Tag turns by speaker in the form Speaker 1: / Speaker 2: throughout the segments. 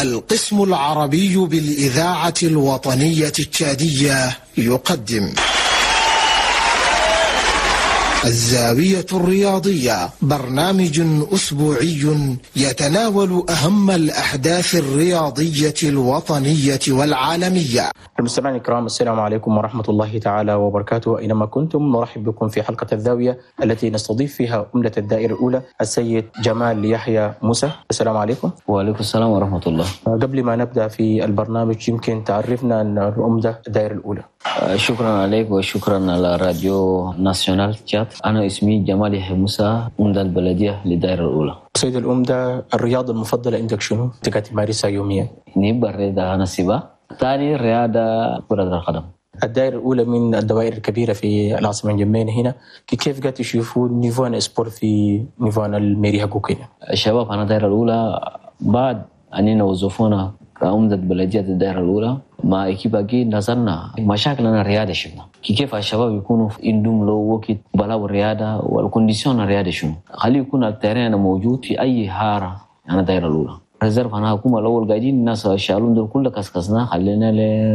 Speaker 1: القسم العربي بالإذاعة الوطنية التشادية يقدم الزاوية الرياضية، برنامج أسبوعي يتناول أهم الأحداث الرياضية الوطنية والعالمية.
Speaker 2: المستمعين الكرام، السلام عليكم ورحمة الله تعالى وبركاته، أينما كنتم نرحب بكم في حلقة الزاوية التي نستضيف فيها عمدة الدائرة الأولى السيد جمال يحيى موسى. السلام عليكم.
Speaker 3: وعليكم السلام ورحمة الله.
Speaker 2: قبل ما نبدأ في البرنامج يمكن تعرفنا أن العمدة الدائرة الأولى.
Speaker 3: شكرا عليك وشكرا على راديو ناسيونال تشاد. أنا اسمي جمال يحيى موسى، عمدة البلدية للدائرة الأولى.
Speaker 2: سيد العمدة، الرياضة المفضلة عندك شنو؟ أنت تمارسها يوميا؟
Speaker 3: نبى الرياضة أنا سباق، ثاني رياضة كرة القدم.
Speaker 2: الدائرة الأولى من الدوائر الكبيرة في العاصمة انجمينا هنا، كيف قاعد تشوفوا niveau sport في niveau ال mairie حقوق هنا؟
Speaker 3: الشباب أنا الدائرة الأولى بعد أننا وظفونا كعمدة بلدية الدائرة الأولى مع équipe أجي نزلنا مشاكلنا الرياضة شفنا كيف الشباب يكونوا عندهم لو وقت بلاو الرياضة وال condition الرياضة شنو، خليه يكون ال terrain موجود في أي حارة. أنا الدائرة الأولى réserve أنا حكومة الأول قاعدين الناس شالون دول كله كسكسنا خلينا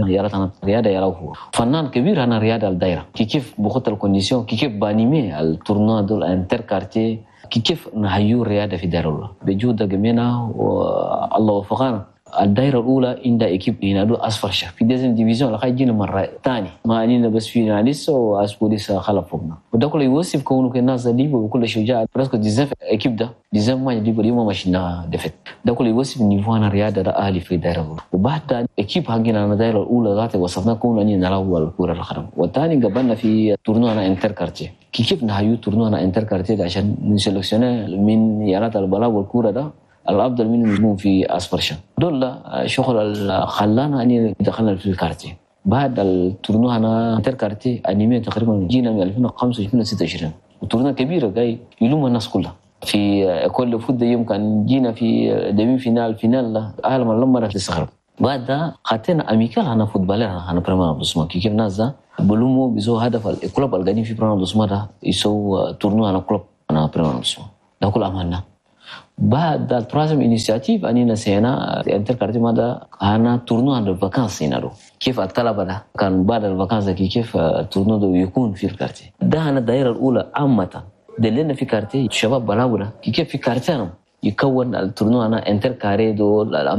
Speaker 3: يلا الرياضة يلا هو فنان كبير. أنا الرياضة الدائرة كيف بخط ال condition، كيف ب animer ال tournoi دول inter-quartiers، كيف نهيو الرياضة في الدائرة الأولى بجهود جميعنا والله وفقنا. الدائرة الأولى عندها équipe هنا دو أصفر شهر في deuxième division لقى جينا مرة ثاني ما أنينا بس في لسه وأسبوع لسه خلف فوقنا، وده كله يوصف كونه الناس دي وكل شجاع presque 19 équipes ده 19 ما يجيبوا اليوم ماشينا défaite. ده كله يوصف niveau أنا الرياضة ده أهلي في الدائرة الأولى. وبعد équipe حقنا أنا الدائرة الأولى ذات وصفنا كونه أنينا نلعب الكرة القدم، والثاني قبلنا في tournoi أنا inter-quartiers. كيف نهايو tournoi أنا inter-quartiers عشان ن sélectionner من يارات البلاء والكورة ده الافضل منهم يكون في اصفر. دول شغل خلانا اني دخلنا في ال quartier. بعد ال tournoi انا inter-quartiers animé تقريبا جينا من 2005 2026 و tournoi كبيرة جاي يلوم الناس كلها في كل foot يوم كان جينا في demi-finale finale اهل ما لما تستغرب. بعد ده خاتنا amicale انا footballeur انا premier arrondissement كيف ناس ده بلومو بيزو هدف ال club القديم في premier arrondissement ده يسو tournoi انا club انا premier arrondissement ده كل عملنا. بعد ال troisième initiative اني نسينا inter-quartiers ماذا انا tournoi عند ال vacances هنا كيف الطلبة ده كان بعد ال vacances كيف ال tournoi ده يكون في ال quartier ده. انا الدائرة الاولى عامة دلنا في quartier الشباب بلاوله كيف في quartier يكون ال tournoi انا inter-quartiers دول.